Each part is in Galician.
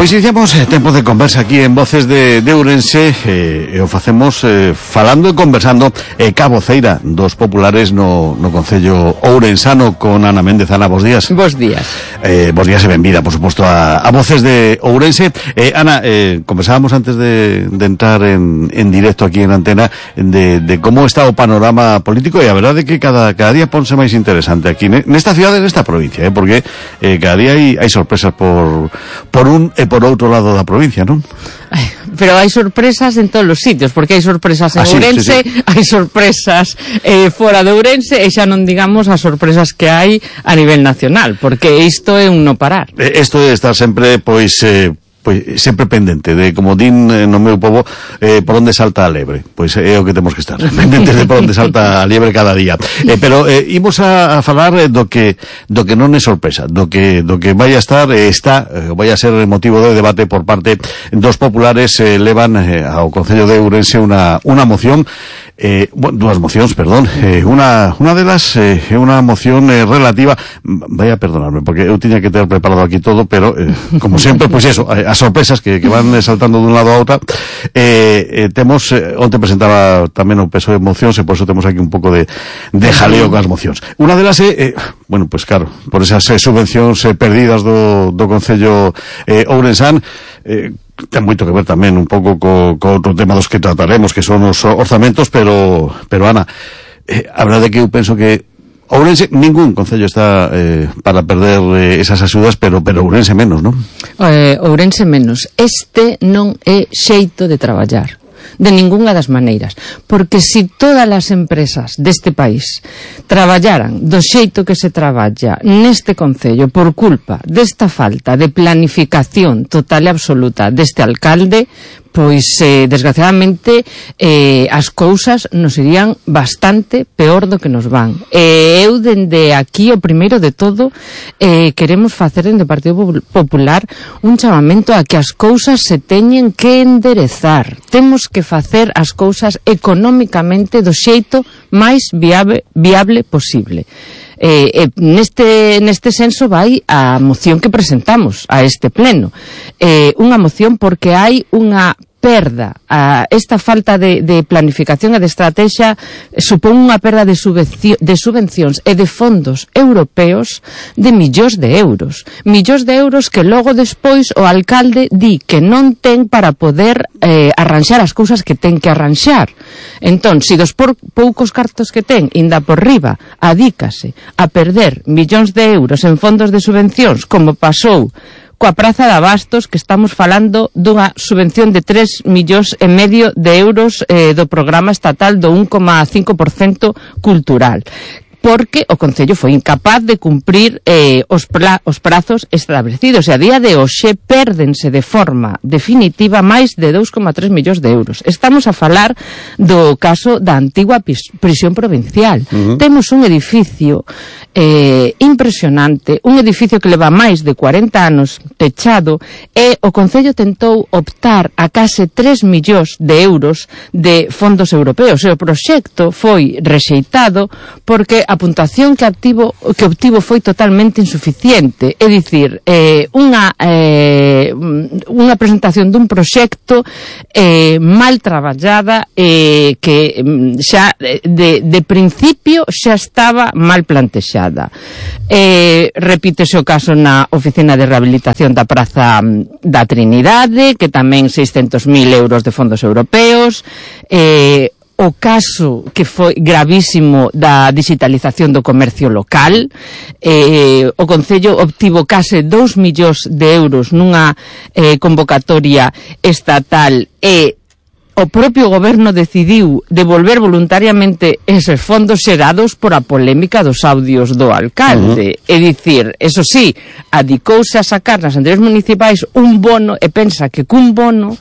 Pois iniciamos tempo de conversa aquí en Voces de Ourense, e o facemos falando e conversando ca voceira dos populares no Concello ourensano con Ana Méndez. Ana, bos días. Bos días. Bos días e benvida, por suposto, a Voces de Ourense. Ana, conversábamos antes de entrar en directo aquí en antena de como está o panorama político, e a verdade é que cada día ponse máis interesante aquí nesta cidade, nesta provincia, porque cada día hai sorpresas por un e por outro lado da provincia, non? Pero hai sorpresas en todos os sitios, porque hai sorpresas en Ourense, sí. Hai sorpresas fora de Ourense, e xa non digamos as sorpresas que hai a nivel nacional, porque isto é un non parar. Isto é estar sempre, pois sempre pendente de, como din no meu povo, por onde salta a lebre. Pois é o que temos que estar, pendentes de por onde salta a lebre cada día. Pero imos a falar do que non é sorpresa, do que vai a estar, vai a ser motivo de debate por parte dos populares. Levan ao Concello de Ourense unha moción, dúas mocións, perdón. Unha delas é unha moción relativa, vai a perdonarme, porque eu tiña que ter preparado aquí todo, pero como sempre, pois eso, as sorpresas que van saltando dun lado a outra. Temos, onte presentaba tamén o peso de mocións, e por eso temos aquí un pouco de jaleo con as mocións. Unha delas é, bueno, pois claro, por esas subvencións perdidas do Concello ourensán, ten moito que ver tamén un pouco co outro tema dos que trataremos, que son os orzamentos, pero Ana, a verdade é que eu penso que Ourense, ningún concello está para perder esas axudas, pero Ourense menos, non? Ourense menos. Este non é xeito de traballar, de ningunha das maneiras, porque se todas as empresas deste país traballaran do xeito que se traballa neste concello por culpa desta falta de planificación total e absoluta deste alcalde, pois desgraciadamente as cousas nos irían bastante peor do que nos van. Eu dende aquí, o primeiro de todo, queremos facer dende o Partido Popular un chamamento a que as cousas se teñen que enderezar. Temos que facer as cousas económicamente do xeito máis viable posible. Neste senso vai a moción que presentamos a este pleno, unha moción porque hai unha perda, esta falta de planificación e de estrategia supón unha perda de subvencións e de fondos europeos de millóns de euros que logo despois o alcalde di que non ten para poder arranxar as cousas que ten que arranxar. Entón, se dos poucos cartos que ten inda por riba adícase a perder millóns de euros en fondos de subvencións, como pasou coa Praza de Abastos, que estamos falando dunha subvención de 3,5 millóns de euros do programa estatal do 1,5% cultural, porque o Concello foi incapaz de cumprir os prazos establecidos, e a día de hoxe pérdense de forma definitiva máis de 2,3 millóns de euros. Estamos a falar do caso da antigua prisión provincial. Temos un edificio impresionante, un edificio que leva máis de 40 anos pechado, e o Concello tentou optar a case 3 millóns de euros de fondos europeos, e o proxecto foi rexeitado porque a puntuación que obtivo foi totalmente insuficiente. É dicir, unha presentación dun proxecto mal traballada, que xa de principio xa estaba mal plantexada. Repítese o caso na oficina de rehabilitación da Praza da Trinidade, que tamén 600.000 euros de fondos europeos. O caso que foi gravísimo da digitalización do comercio local, o Concello obtivo case 2 millóns de euros nunha convocatoria estatal, e o propio goberno decidiu devolver voluntariamente eses fondos xerados por a polémica dos audios do alcalde. É dicir, eso sí, adicouse a sacar nas anteriores municipais un bono, e pensa que cun bono,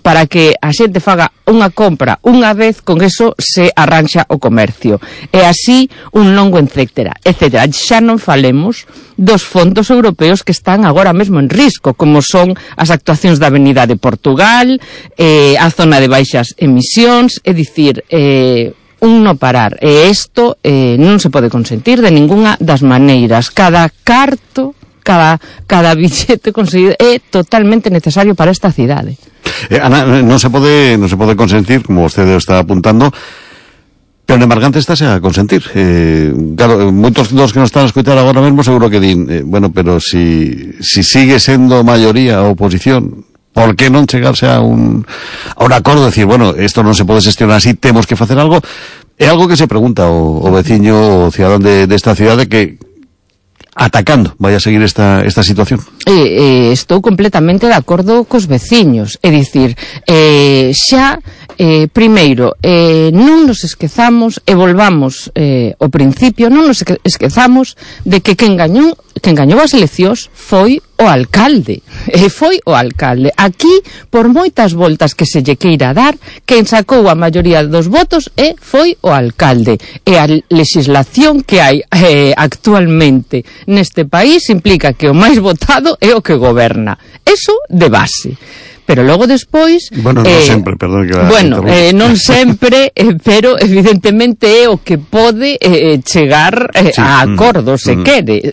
para que a xente faga unha compra unha vez, con eso se arranxa o comercio. E así un longo etcétera. Xa non falemos dos fondos europeos que están agora mesmo en risco, como son as actuacións da Avenida de Portugal, a zona de baixas emisións, é dicir, un non parar. E isto non se pode consentir de ningunha das maneiras. Cada carto cada billete conseguido é totalmente necesario para esta cidade. Ana, non se pode consentir, como vostede está apuntando, pero en Embargante estáse a consentir. Claro, moitos dos que nos están a escutar agora mesmo seguro que din, bueno, pero si sigue sendo maioría a oposición, por que non chegarse a un acordo, decir, bueno, isto non se pode xestionar así, temos que facer algo? É algo que se pregunta o veciño, o cidadán desta cidade, que atacando vai a seguir esta situación. Estou completamente de acordo cos veciños, é dicir, xa primeiro, non nos esquezamos e volvamos ao principio, non nos esquezamos de que quen gañou as eleccións foi o alcalde. Foi o alcalde. Aquí, por moitas voltas que se lle queira dar, quen sacou a maioría dos votos foi o alcalde. E a legislación que hai actualmente neste país implica que o máis votado é o que goberna. Eso de base. Pero logo despois... Bueno, non sempre, perdón que... Bueno, non sempre, pero evidentemente é o que pode chegar a acordo, se quere,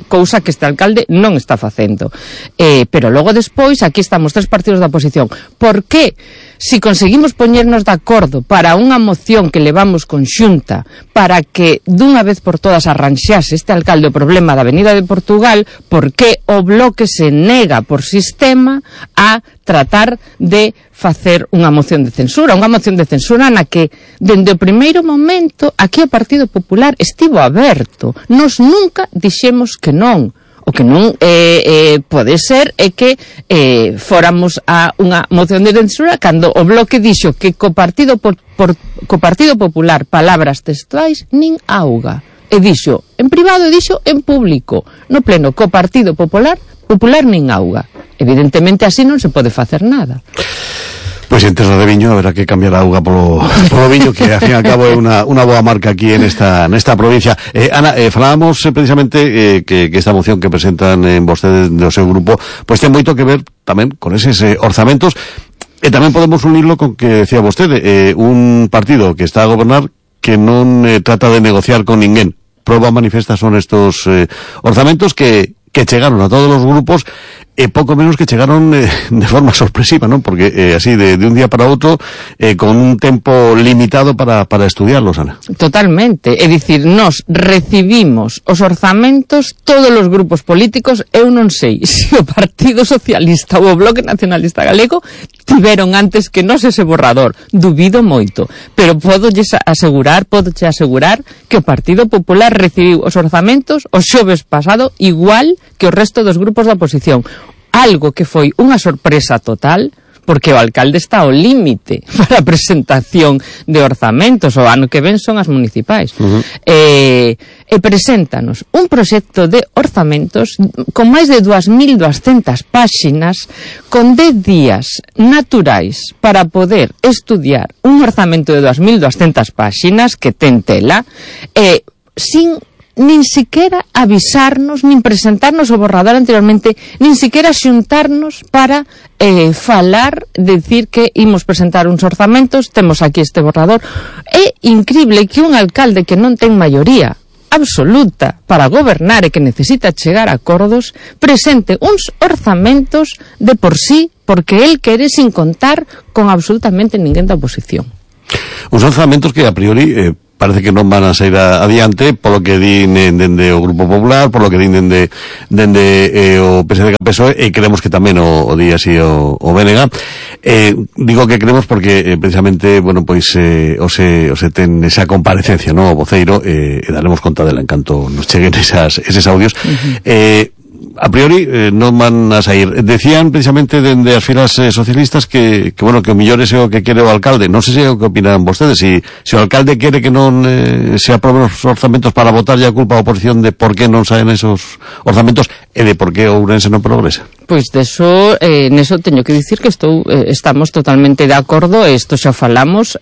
cousa que este alcalde non está facendo. Pero logo despois, aquí estamos tres partidos da oposición. Por que? Si conseguimos poñernos de acordo para unha moción que levamos conxunta para que dunha vez por todas arranxase este alcalde o problema da Avenida de Portugal, por que o Bloque se nega por sistema a tratar de facer unha moción de censura na que dende o primeiro momento aquí o Partido Popular estivo aberto. Nos nunca dixemos que non. O que non pode ser é que fóramos a unha moción de censura cando o Bloque dixo que co Partido Popular, palabras textuais, nin auga. E dixo en privado e dixo en público. No pleno, co Partido Popular nin auga. Evidentemente así non se pode facer nada. Pois en terra de viño haberá que cambiar a auga polo viño, que ao fin e ao cabo é unha boa marca aquí nesta provincia. Ana, falábamos precisamente que esta moción que presentan vostedes do seu grupo, pois ten moito que ver tamén con eses orzamentos, e tamén podemos unirlo con que decía vostede, un partido que está a gobernar que non trata de negociar con ninguén. Proba manifesta son estos orzamentos que chegaron a todos os grupos, e pouco menos que chegaron de forma sorpresiva, non? Porque así de un día para outro, con un tempo limitado para estudiarlos, Ana. Totalmente, é dicir, nós recibimos os orzamentos todos os grupos políticos. Eu non sei se o Partido Socialista ou o Bloque Nacionalista Galego tiveron antes que nós ese borrador, dubido moito, pero podoche asegurar que o Partido Popular recibiu os orzamentos o xoves pasado igual que o resto dos grupos da oposición. Algo que foi unha sorpresa total, porque o alcalde está ao límite para a presentación de orzamentos. O ano que ven son as municipais. E preséntanos un proxecto de orzamentos con máis de 2.200 páxinas, con 10 días naturais para poder estudiar un orzamento de 2.200 páxinas que ten tela, sin nin siquiera avisarnos, nin presentarnos o borrador anteriormente, nin siquiera xuntarnos para falar, decir que imos presentar uns orzamentos, temos aquí este borrador. É incrible que un alcalde que non ten maioría absoluta para gobernar e que necesita chegar a acordos presente uns orzamentos de por sí, porque él quere sin contar con absolutamente ninguén da oposición. Uns orzamentos que a priori parece que non van a sair adiante, polo que din dende o Grupo Popular, polo que din dende o PSDG-PSOE, e creemos que tamén o di así o BNG. Digo que creemos porque precisamente, bueno, pois o se ten esa comparecencia, no, o voceiro, e daremos conta dela en canto nos cheguen eses audios. A priori non van a sair. Decían precisamente dende as filas socialistas que bueno, que o mellor é o que quere o alcalde. Non sei se é o que opinan vostedes, se o alcalde quere que non se aproben os orzamentos para votar a culpa a oposición de por que non saen esos orzamentos e de por que o Ourense non progresa. Pois deso, neso teño que dicir que estamos totalmente de acordo, e isto xa falamos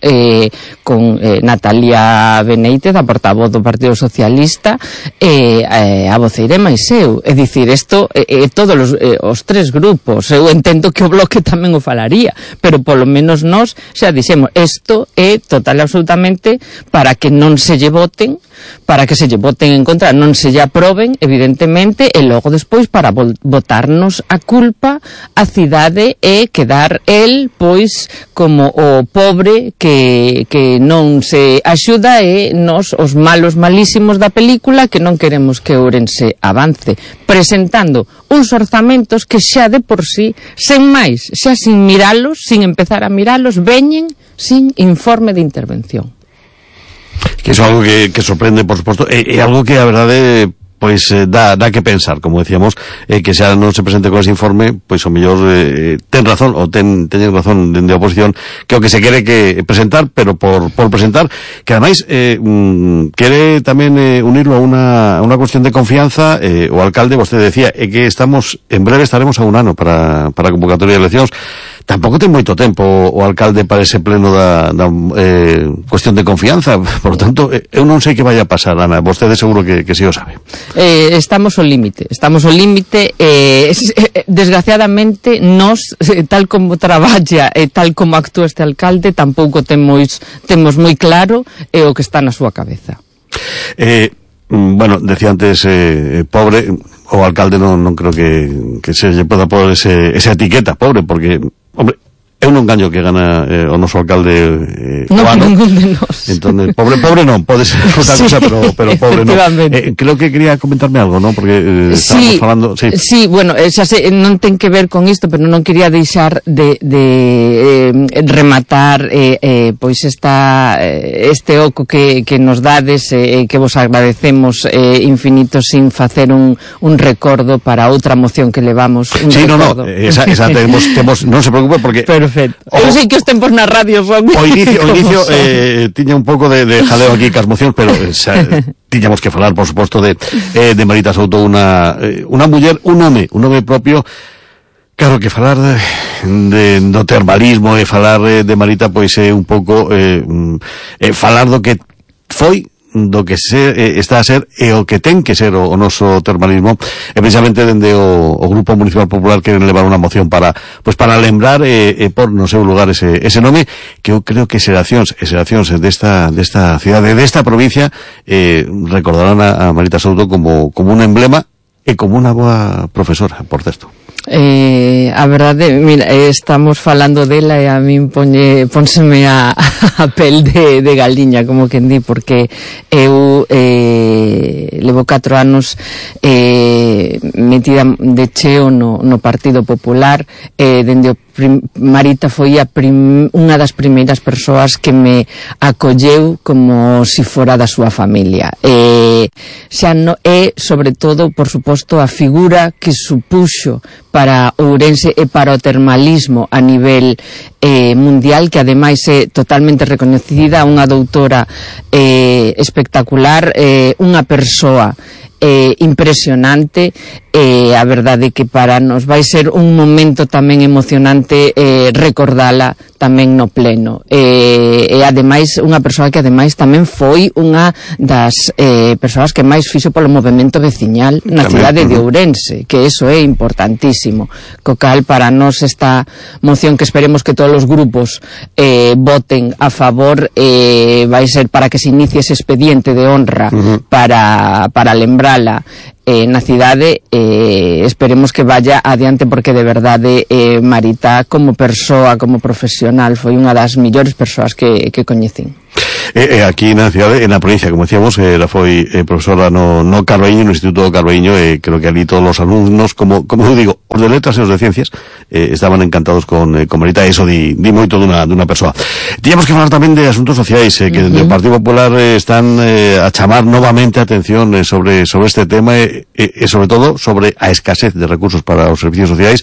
con Natalia Beneite, da portavoz do Partido Socialista, a voceira máis eu. É dicir, isto todos os tres grupos, eu entendo que o Bloque tamén o falaría, pero polo menos nós xa dixemos, isto é total e absolutamente para que non se lle voten para que se lle voten en contra, non se lle aproben, evidentemente, e logo despois para botarnos a culpa a cidade e quedar el, pois, como o pobre que non se axuda e nos, os malos malísimos da película, que non queremos que Ourense avance, presentando uns orzamentos que xa de por sí, sen máis, xa sin miralos, sin empezar a miralos, veñen sin informe de intervención. Que iso é algo que sorprende, por suposto, é algo que a verdade pois dá que pensar, como decíamos, que xa non se presente con ese informe, pois o mellor ten razón, ou teñen razón dende a oposición, que o que se quere que presentar, pero por presentar, que ademais quere tamén unirlo a unha cuestión de confianza. O alcalde, vostede decía, que en breve estaremos a un ano para a convocatoria de eleccións. Tampouco ten moito tempo o alcalde para ese pleno da cuestión de confianza, por lo tanto, eu non sei que vaya a pasar, Ana, vostede seguro que si o sabe. Estamos ao límite, desgraciadamente nós, tal como traballa e tal como actúa este alcalde, tampouco temos moi claro o que está na súa cabeza. Bueno, decía antes, pobre, o alcalde non creo que se lle poda poner esa etiqueta, pobre, porque, hombre, eu non gaño que gana o noso alcalde o ano. Ningún de nós. Entón, pobre non, pode ser outra cosa, pero pobre non. Creo que quería comentarme algo, non? Porque estábamos falando... Sí, bueno, xa sei, non ten que ver con isto, pero non quería deixar de rematar pois este oco que nos dades, que vos agradecemos infinito, sin facer un recordo para outra moción que levamos. Esa temos, non se preocupe, porque... Perfecto. Eu sei que os tempos na radio son... O inicio tiña un pouco de jaleo aquí cas mocións, pero tiñamos que falar, por suposto, de Marita Souto, unha muller, un home propio. Claro que falar do termalismo e falar de Marita, pois é un pouco falar do que foi, do que está a ser e o que ten que ser o noso termalismo, e precisamente dende o Grupo Municipal Popular queren levar unha moción para lembrar e por no seu lugar ese nome, que eu creo que xeracións desta cidade, desta provincia, recordarán a Marita Souto como un emblema e como unha boa profesora, por certo. A verdade, mira, estamos falando dela e a min pónseme a pel de galiña, como quen di, porque eu levo 4 anos metida de cheo no Partido Popular, dende o Marita foi unha das primeiras persoas que me acolleu como si fora da súa familia. Sobre todo, por suposto, a figura que supuxo para Ourense e para o termalismo a nivel mundial, que ademais é totalmente recoñecida, unha doutora espectacular, unha persoa impresionante. A verdade que para nos vai ser un momento tamén emocionante recordala tamén no pleno, e ademais unha persoa que ademais tamén foi unha das persoas que máis fixo polo movemento veciñal na cidade de Ourense, que eso é importantísimo, co cal para nos esta moción, que esperemos que todos os grupos voten a favor, vai ser para que se inicie ese expediente de honra para lembrala na cidade. Esperemos que vaya adiante, porque de verdade Marita, como persoa, como profesional, foi unha das millores persoas que coñecín. Aquí na cidade, na provincia, como decíamos, ela foi profesora no Carballiño, no Instituto do Carballiño, e creo que ali todos os alumnos, como eu digo, os de letras e os de ciencias, estaban encantados con Marita. Eso di moito dunha persoa. Tiñamos que falar tamén de asuntos sociais, que dentro do Partido Popular están a chamar novamente a atención sobre este tema, e sobre todo sobre a escasez de recursos para os servicios sociais.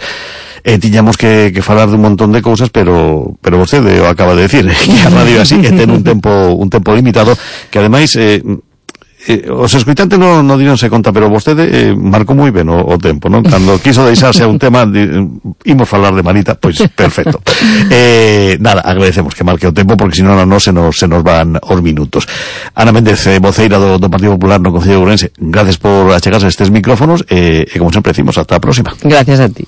Tiñamos que falar de un montón de cousas, pero vostede o acaba de decir, que a radio así, que ten un tempo limitado, que ademais os escoitantes non dironse conta, pero vostede marcou moi ben o tempo, non? Cando quiso deixarse a un tema, imos falar de Marita, pois perfecto. Nada, agradecemos que marque o tempo, porque senón a nós se nos van os minutos. Ana Méndez, voceira do Partido Popular no Concello de Ourense, gracias por achegarse a estes micrófonos, e como sempre decimos, hasta a próxima. Gracias a ti.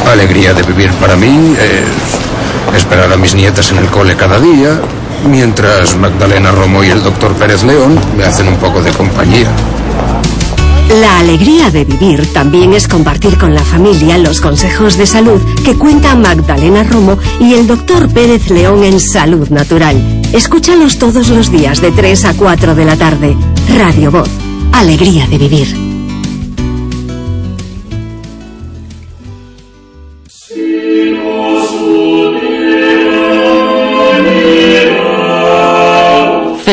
Vale, alegría de vivir para mí es esperar a mis nietas en el cole cada día, mientras Magdalena Romo y el doctor Pérez León me hacen un poco de compañía. La alegría de vivir también es compartir con la familia los consejos de salud que cuentan Magdalena Romo y el doctor Pérez León en Salud Natural. Escúchalos todos los días de 3 a 4 de la tarde. Radio Voz. Alegría de vivir.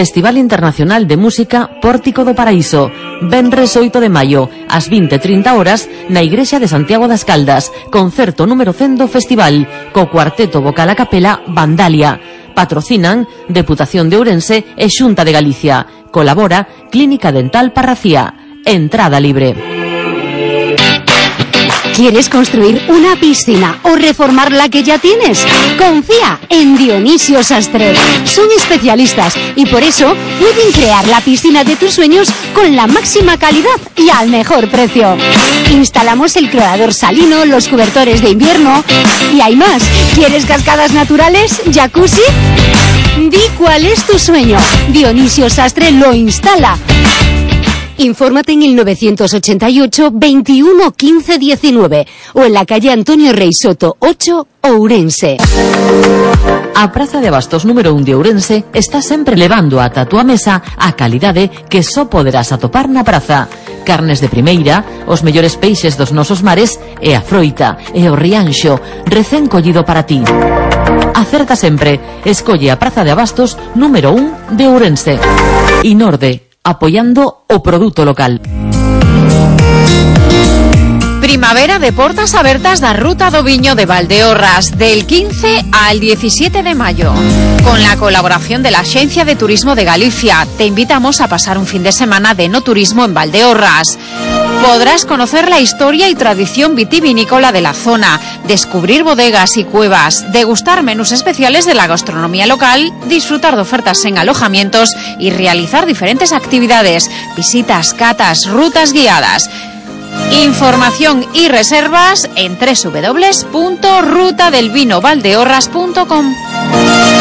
Festival Internacional de Música Pórtico do Paraíso, venres 8 de maio, ás 20:30 horas, na Igrexa de Santiago das Caldas, concerto número 100 do festival, co cuarteto vocal a capela Vandalia. Patrocinan Deputación de Ourense e Xunta de Galicia. Colabora Clínica Dental Parracía. Entrada libre. ¿Quieres construir una piscina o reformar la que ya tienes? Confía en Dionisio Sastre. Son especialistas y por eso pueden crear la piscina de tus sueños con la máxima calidad y al mejor precio. Instalamos el clorador salino, los cobertores de invierno y hay más. ¿Quieres cascadas naturales? ¿Jacuzzi? Di cuál es tu sueño. Dionisio Sastre lo instala. Infórmate en el 988 21 15 19 o en la calle Antonio Rey Soto 8, Ourense. A Praza de Abastos número 1 de Ourense está sempre levando ata a túa mesa a calidade que só poderás atopar na praza. Carnes de primeira, os mellores peixes dos nosos mares e a froita e o rianxo recén collido para ti. Acerta sempre, escolle a Praza de Abastos número 1 de Ourense. Inorde, apoyando o produto local. Primavera de portas abertas da Ruta do Viño de Valdeorras del 15 al 17 de mayo. Con la colaboración de la Agencia de Turismo de Galicia, te invitamos a pasar un fin de semana de enoturismo en Valdeorras. Podrás conocer la historia y tradición vitivinícola de la zona, descubrir bodegas y cuevas, degustar menús especiales de la gastronomía local, disfrutar de ofertas en alojamientos y realizar diferentes actividades, visitas, catas, rutas guiadas. Información y reservas en www.rutadelvinovaldeorras.com.